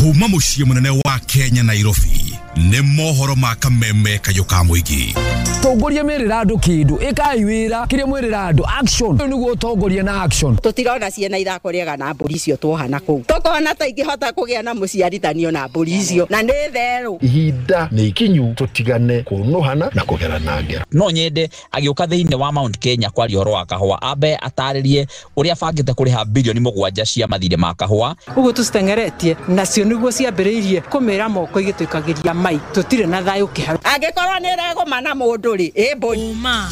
Kuma muciĩ mũnene wa Kenya Nairobi nĩ mohoro ma kameme kayũ ka mũingĩ. Tongoria merĩra andũ kĩndũ ĩkai wĩra kĩrĩa mwerĩra andũ action nĩguo ũtongoria na action. Tũtirona ciana ithako rĩega na mbũri icio tuohana kũu tũkona ta ingĩhota kũgĩa na mũciarithanio na mbũri icio na nĩ therũ. Ihinda nĩ ikinyu tũtigane kũnũhana na kũgerana ngero. No nyende agĩũka thĩinĩ wa Mount Kenya kwaria ũhoro wa kahũa ambe atarĩrie ũrĩa abangĩte kũrĩha bilioni 7 cia mathirĩ ma kahũa. Ũguo tũciteng'eretie nacio nĩguo ciambĩrĩirie kũmĩra moko igĩtũikagĩria mai tũtirĩ na thayũ kĩharo. Angĩkorwo nĩ ĩregũma na mũndũ rĩ ĩ mbũri. Ũma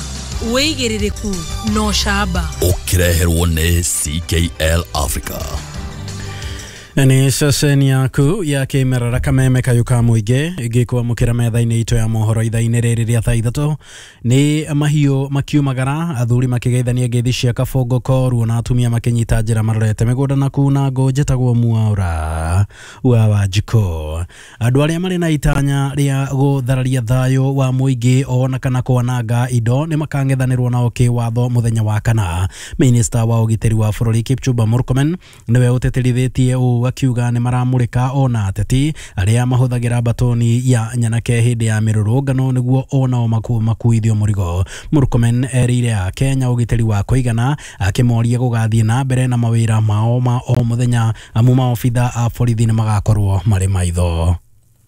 wĩigĩrĩrĩku no camba. Ũkĩreherwo nĩ CKL Africa. Nĩ ceceni yaku ya kĩmerera kameme kayũ ka mũingĩ ĩngĩkwamũkĩra metha-inĩ itũ ya mohoro ithaa-inĩ rĩrĩ rĩa thaa 3 nĩ mahiũ makiumagara athuri makĩgeithania ngeithi cia kabongo koruo na atumia makĩnyita njĩra marorete mĩgũnda na kuna ngũ njĩtagwo Mwaura wa Wanjikũ. Andũ arĩa marĩ na itanya rĩa gũthararia thayũ wa mũingĩ ona kana kwananga indo nĩ makang'ethanĩrwo nao kĩwatho mũthenya wa kana. Minista wa ũgitĩri wa bũrũri Kipchumba Murkomen nĩwe ũtĩtĩrithĩtie ũũ akiuga nĩ maramũrĩka ona ateti arĩa mahũthagĩra batoni ya nyanake hĩndĩ ya mĩrũrũngano nĩguo onao makuithio mũrigo. Murkomen erĩire a Kenya ũgitĩri wa kũigana akĩmoria gũgathiĩ na mbere na mawĩra mao ma o mũthenya amu maobitha a borithi nĩ magakorwo marĩ maitho.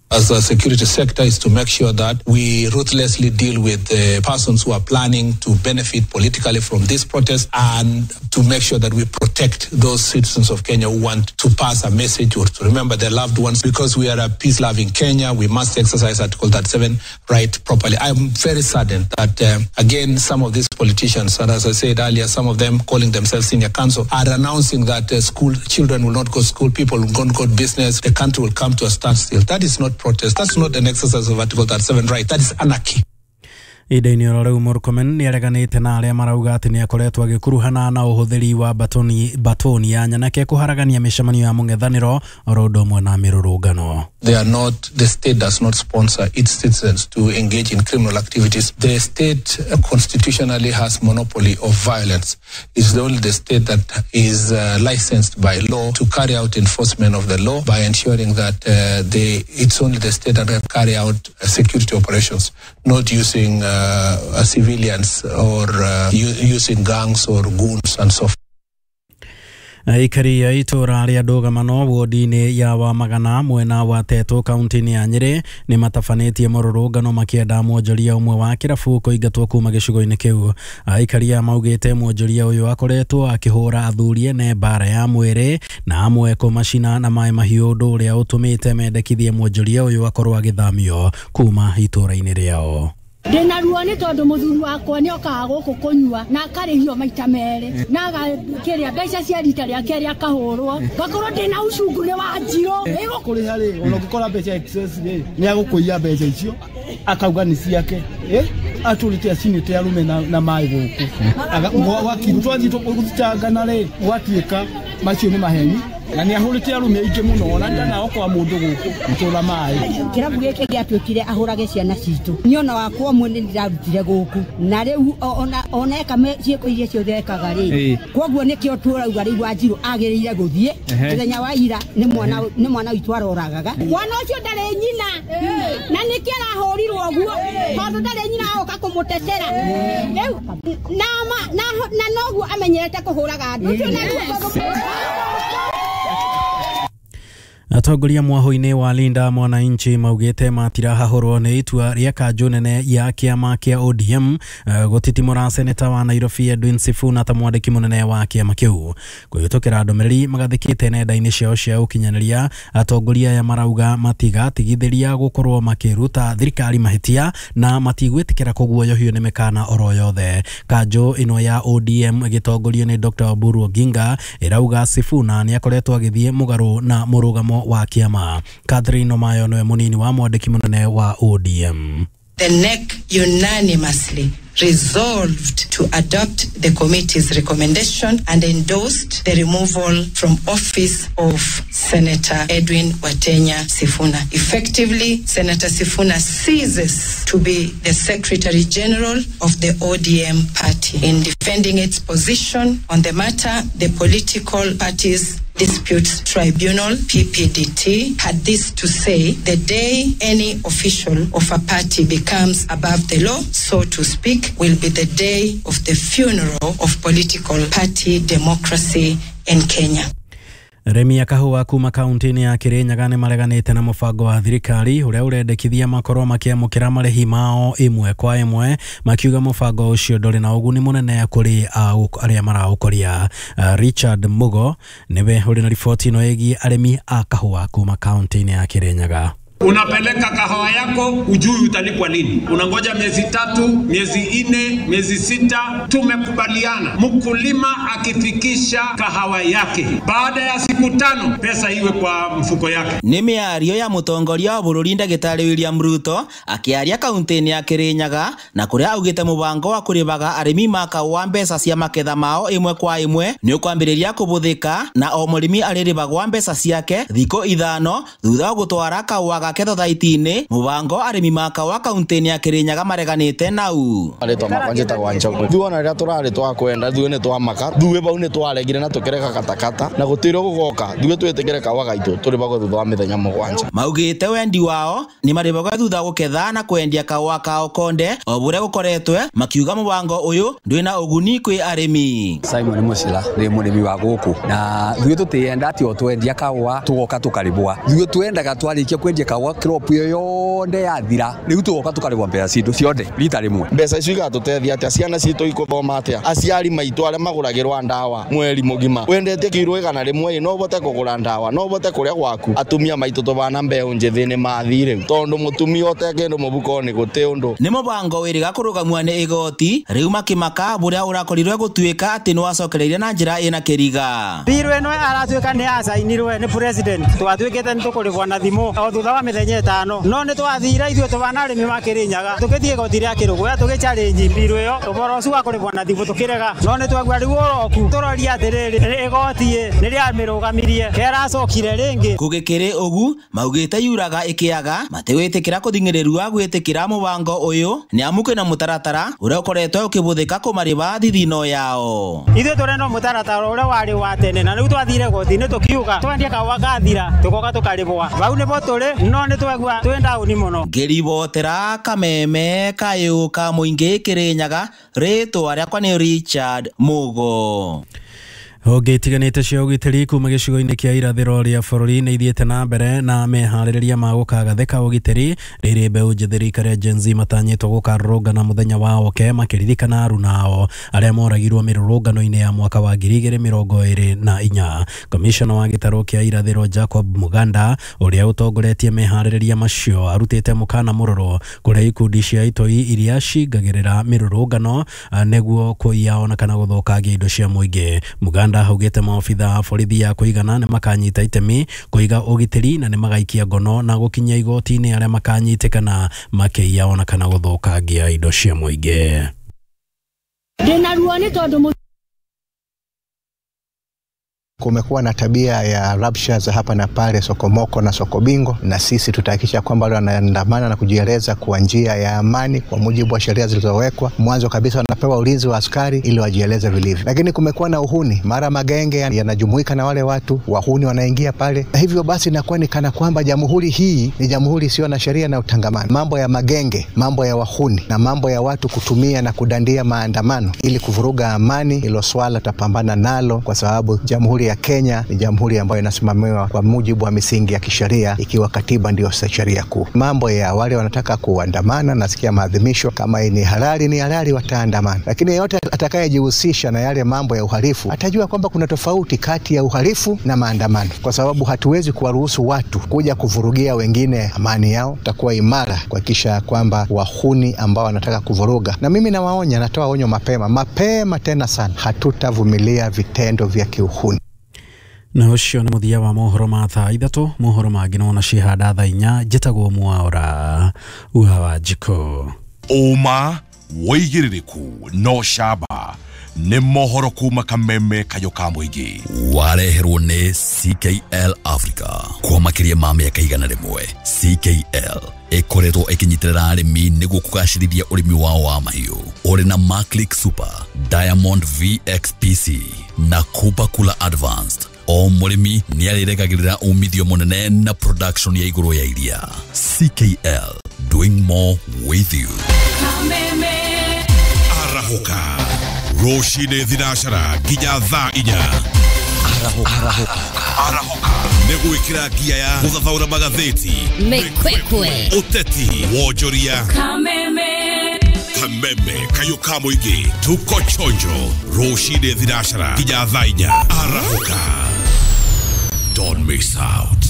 As a security sector is to make sure that we ruthlessly deal with the persons who are planning to benefit politically from this protest and to make sure that we protect those citizens of Kenya who want to pass a message or to remember their loved ones. Because we are a peace-loving Kenya, we must exercise Article 37 right properly. I'm very saddened that, again, some of these politicians, and as I said earlier, some of them calling themselves senior counsel, are announcing that school children will not go to school, people will not go to business, the country will come to a standstill. That is not protest. That's not an exercise of Article 37 right. That is anarchy. Ihinda-inĩ oro rĩu Murkomen nĩ areganĩte na arĩa marauga atĩ nĩ akoretwo agĩkuruhana na ũhũthĩri wa batoni ya nyanake kũharagania mĩcemanio ya mũng'ethanĩro oro ũndũ ũmwe na mĩrũrũngano. They are not, the state does not sponsor its citizens to engage in criminal activities. The state constitutionally has monopoly of violence. It's only the state that is licensed by law to carry out enforcement of the law by ensuring that it's only the state that can carry out security operations, not using civilians or using gangs or goons and so forth. Aikari a itũra rĩa ndũgamano wodi-inĩ ya Wamagana mwena wa Teto kaunti-inĩ ya Nyĩrĩ nĩ matabanĩtie mũrũrũngano makĩenda mwonjoria ũmwe wa kĩrabu kũingatwo kuma gĩcigo-inĩ kĩu. Aikari aya maugĩte mwonjoria ũyũ akoretwo akĩhũra athuri ene mbara ya mwĩrĩ na amwe kũmacina na maĩ mahiũ, ũndũ ũrĩa ũtũmĩte mendekithie mwonjoria ũyũ akorwo agĩthamio kuma itũra-inĩ rĩao. Ndĩna ruo nĩ tondũ mũthuri wakwa nĩ okaga gũkũ kũnyua na akarĩhio maita merĩ na agakĩrĩa mbeca cia rita rĩa kerĩ akahũrwo ngakorwo ndĩna ucungu nĩ wa njirũ. Ĩgũkũrĩha rĩ ona ũngĩkora mbeca excess rĩ nĩ agũkũiya mbeca icio akauga nĩ ciake atũrĩte acinĩte arũme na maĩ gũkũ twathiĩ gũthitangana rĩ gwatuĩka macio nĩ maheni na nĩ ahũrĩte arũme aingĩ mũno ona ndanaokoa mũndũ gũkũ gũtũra maĩ. Kĩrabu gĩkĩ gĩatuĩkire ahũrage ciana citũ niĩ ona wakwa ũmwe nĩ ndĩrarutire gũkũ na rĩu ona eka ciĩko iria ciothe ekaga rĩ koguo nĩkĩo tũrauga rĩu Wanjirũ agĩrĩire gũthiĩ mũthenya wa ira nĩ mwana witũ aroragaga. Mwana ũcio ndarĩ nyina na nĩkĩo arahũrirwo ũguo tondũ ndarĩ nyina agoka kũmũtetera rĩu na noguo amenyerete kũhũraga andũ ũcio naguo. Atongoria mwahũ-inĩ wa Linda Mwananchi maugĩte matirahahũrwo nĩ itua rĩa kanjũ nene ya kĩama kĩa ODM gũtitimũra seneta wa Nairobi Edwin Sifuna ta mwandĩki mũnene wa kĩama kĩu. Kũhĩtũkĩra ndũmĩrĩri magathĩkĩte nenda-inĩ ciao cia ũkinyanĩria, atongoria aya marauga matigatigithĩria gũkorwo makĩruta thirikari mahĩtia na matigwĩtĩkĩra kũguoyohio nĩ mĩkana oro yothe. Kanjũ ĩno ya ODM ĩgĩtongorio nĩ Dr. Oburu Oginga ĩrauga Sifuna nĩ akoretwo agĩthiĩ mũgarũ na mũrũgamo wa kĩama. Catherine Omayo nĩwe mũnini wa mwandĩki mũnene wa ODM. The NEC unanimously resolved to adopt the committee's recommendation and endorsed the removal from office of Senator Edwin Watenya Sifuna. Effectively, Senator Sifuna ceases to be the Secretary General of the ODM party. In defending its position on the matter, the political party's Disputes Tribunal, PPDT, had this to say: the day any official of a party becomes above the law, so to speak, will be the day of the funeral of political party democracy in Kenya. Arĩmi a kahũa kuma kaunti-inĩ ya Kirinyaga nĩ mareganĩte na mũbango wa thirikari ũrĩa ũrendekithia makorwo makĩamũkĩra marĩhi mao ĩmwe kwa ĩmwe, makiuga mũbango ũcio ndũrĩ na ũguni mũnene kũrĩ arĩa maraũkũria. Richard Mugo nĩwe ũrĩ na riboti ĩno ĩgiĩ arĩmi a kahũa kuma kaunti-inĩ ya Kirinyaga. Unapeleka kahawa yako, ujui utalipwa lini. Unangoja miezi 3, miezi 4, miezi 6. Tumekubaliana mkulima akifikisha kahawa yake baada ya siku 5 pesa iwe kwa mfuko yake. Nĩ mĩario ya mũtongoria wa bũrũri ndagĩtarĩ William Ruto akĩaria kaunti-inĩ ya Kirinyaga na kũrĩa augĩte mũbango wa kũrĩhaga arĩmi ma kahũa mbeca cia maketha mao ĩmwe kwa ĩmwe nĩ ũkwambĩrĩria kũbũthĩka na o mũrĩmi arĩrĩhagwo mbeca ciake thikũ 5 thutha wa gũtwara kahũa gake thothaiti-inĩ. Mũbango arĩmi ma kahũa kaunti-inĩ ya Kirinyaga mareganĩte nau. Marĩtwa makwa njĩtagwo Njogu. Ithuĩ ona rĩrĩa tũrarĩ twakwenda ithuĩ nĩ twamaka ithuĩ bau nĩ twaregire na tũkĩrega katakata na gũtirĩ gũgoka ithuĩ twĩtĩkĩre kahũa gaitũ tũrĩhagwo thutha wa mĩthenya 7. Maugĩte wendi wao nĩ marĩhagwo thutha gũketha na kwendia kahũa kao konde o bũrĩa gũkoretwe, makiuga mũbango ũyũ ndwĩna ũguni kwĩ arĩmi. Simon Musila nĩ mũrĩmi wa gũkũ na ithuĩ tũtienda atĩ o twendia kahũa tũgoka tũkarĩhwa. Ithuĩ twendaga twarĩkia kwendia kahũa crop ĩyo yothe yathira rĩu tũgoka tũkarĩhwa mbeca citũ ciothe rita rĩmwe. Mbeca icio igatũteithia atĩa? Ciana citũ ikũthoma atĩa? Aciari maitũ arĩa magũragĩrwa ndawa mweri mũgima wendetie kiro 100 no ũhote kũgũra ndawa, no ũhote kũrĩa gwaku. Atumia maitũ tũbana mbeũ njĩthĩ nĩ mathire rĩu tondũ mũtumia ũte kĩndũ mũbuko nĩ gũtĩ ũndũ. Nĩ mũbango wĩrĩga kũrũgamua nĩ igoti rĩu makĩmaka bũrĩa ũrakorirwe gũtuĩka atĩ nĩwacokereirie na njĩra ĩna kĩriga. Biru ĩno aratuĩka nĩ acainirwe nĩ president twatuĩkĩte nĩ tũkũrĩhwo na thimũ o thutha wa mĩthenya 5 no nĩ twathire ithuĩ tũbana arĩmi ma Kirinyaga tũgĩthiĩ igoti rĩa Kĩrũgũya tũgĩ challenge biru ĩyo ũhoro ũcio wa kũrĩhwo na thimũ tũkĩrega no nĩ twagua rĩu ũroku tũroria atĩrĩrĩ igoti nĩ rĩamĩrũgamirie keracokire rĩngĩ. Gũgĩkĩrĩ ũgu maugĩte yuraga ĩkĩaga matigwĩtĩkĩra kũthing'ĩrĩrua gwĩtĩkĩra mũbango ũyũ nĩ amu kwĩna mũtaratara ũrĩa ũkoretwo ũkĩbũthĩka kũmarĩba thithino yao. Ithuĩ tũrenda mũtaratara ũrĩa warĩ wa tene na rĩu twathire igoti-inĩ tũkiuga twendie kahũa gathira tũgoka tũkarĩhwa bau nĩbo tũrĩ no nĩ twegua twĩ ndaũni mũno. Ngĩribotera kameme kayũ ka mũingĩ Kirinyaga, rĩtwa rĩakwa nĩ Richard Mugo. Honge itiganĩte cia ũgitĩri kuma gĩcigo-inĩ kĩa irathĩro rĩa bũrũri nĩ ithiĩte na mbere na meharĩrĩria ma gũkagathĩka ũgitĩri rĩrĩ mbeũ njĩthĩ rika rĩa Gen Z matanyĩtwo gũkarũrũngana mũthenya wa oke makĩririkana aruna ao arĩa moragirwo mĩrũrũngano-inĩ ya mwaka wa 2024. Komishona wa gĩtarũ kĩa irathĩro Jacob Muganda ũrĩa ũtongoretie meharĩrĩria macio arutĩte mũkana mũrũrũ kũrĩ ikundi cia itoi iria cingagĩrĩra mĩrũrũngano nĩguo kũiya ona kana gũthũkangia indo cia mũingĩ. Muganda augĩte maobitha a borithi ya kũigana nĩ makanyita itemi kũiga ũgitĩri na nĩ magaikia ngono na gũkinyia igoti-inĩ arĩa makanyitĩkana makĩiya ona kana gũthũkangia indo cia mũingĩ. Ndĩna ruo nĩ tondũ kumekuwa na tabia ya rabsha za hapa na pale, sokomoko na sokobingo, na sisi tutahakikisha kwamba wale wanaandamana na kujieleza kwa njia ya amani kwa mujibu wa sheria zilizowekwa. Mwanzo kabisa wanapewa ulinzi wa askari ili wajieleze vilivyo. Lakini kumekuwa na uhuni, mara magenge yanajumuika na wale watu wahuni wanaingia pale, na hivyo basi inakuwa ni kana kwamba jamhuri hii ni jamhuri isiyo na sheria na utangamano. Mambo ya magenge, mambo ya wahuni na mambo ya watu kutumia na kudandia maandamano ili kuvuruga amani, hilo swala tutapambana nalo kwa sababu jamhuri ya Kenya ni jamhuri ambayo inasimamiwa kwa mujibu wa misingi ya kisheria, ikiwa katiba ndio sheria kuu. Mambo ya wale wanataka kuandamana, nasikia maadhimisho kama ni halali, ni halali, wataandamana. Lakini yeyote atakayejihusisha na yale mambo ya uhalifu atajua kwamba kuna tofauti kati ya uhalifu na maandamano, kwa sababu hatuwezi kuwaruhusu watu kuja kuvurugia wengine amani yao. Tutakuwa imara kuhakikisha kwamba wahuni ambao wanataka kuvuruga, na mimi nawaonya, natoa onyo mapema mapema tena sana, hatutavumilia vitendo vya kiuhuni. Na ũcio nĩ mũthia wa mohoro ma thaa 3. Mohoro mangĩ nona cihanda thaa 4. Njĩtagwo Mwaura wa Wanjikũ. Ũma wĩigĩrĩrĩku no camba nĩ mohoro kuma kameme kayo ka mũingĩ wareherwo nĩ CKL Africa kwa makĩria ma mĩaka 100. CKL ĩkoretwo ĩkĩnyitĩrĩra arĩmi nĩguo kũgacĩrithia ũrĩmi wao wa mahiũ ũrĩ na Maclick Super, Diamond VXPC na Kupa Kula Advanced. O mũrĩmi nĩ arĩregagĩrĩra umithio mũnene na production ya igũrũ ya iria. CKL, doing more with you. Arahũka rũcinĩ thinacara nginya thaa 4. Arahũka nĩ gwĩkĩra ngia ya gũthathaũra magathĩti, Mĩkwekwe, ũteti, wonjoria, Kameme, Kameme kayũ ka mũingĩ. Tuko chonjo rũcinĩ thinacara nginya thaa 4. Arahũka, don't miss out.